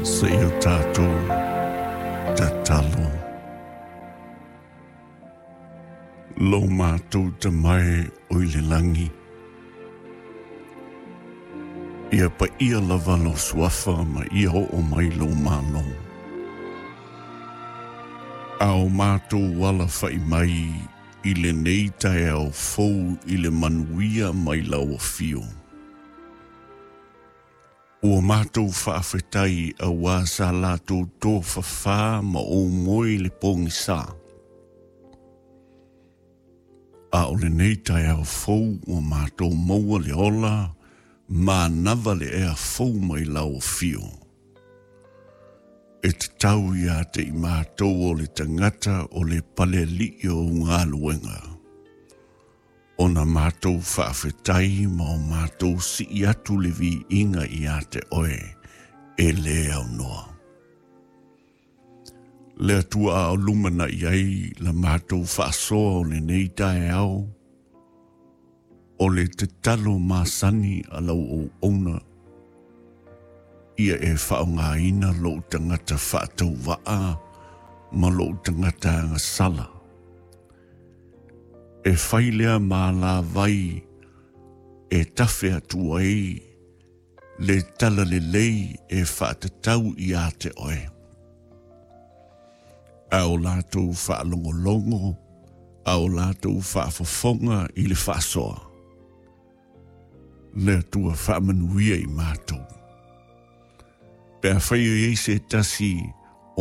Seia o tatou tatalo. Lo matou Tama e o i le lagi, ia paia lava lou suafa ma ia oo mai lou Malo. A o matou alafaʻi mai i lenei taeao fou i le manuia mai lau afio. Ua matou faafetai auā sa latou tofafā ma ou moe i le pogisa. A o lenei taeao fou ua matou maua le ola manava le ea fou mai lau afio. E tatau ia te i matou o le tagata o le palealii o ou galuega. Ona matou faafetai ma o matou sii atu le viiga ia te oe e le aunoa. Le Atua a o lumanai ai la matou faasoa o lenei taeao, o le tatalo masani a lau auauna, ia e faaaogaina lou tagata faatauvaa ma lou tagata agasala. E fai lea ma alavai e tafe atu ai le talalelei e faatatau ia te oe. A o latou faalogologo, a o latou faafofoga i le faasoa, le Atua faamanuia i matou. Pe afai o i ai se tasi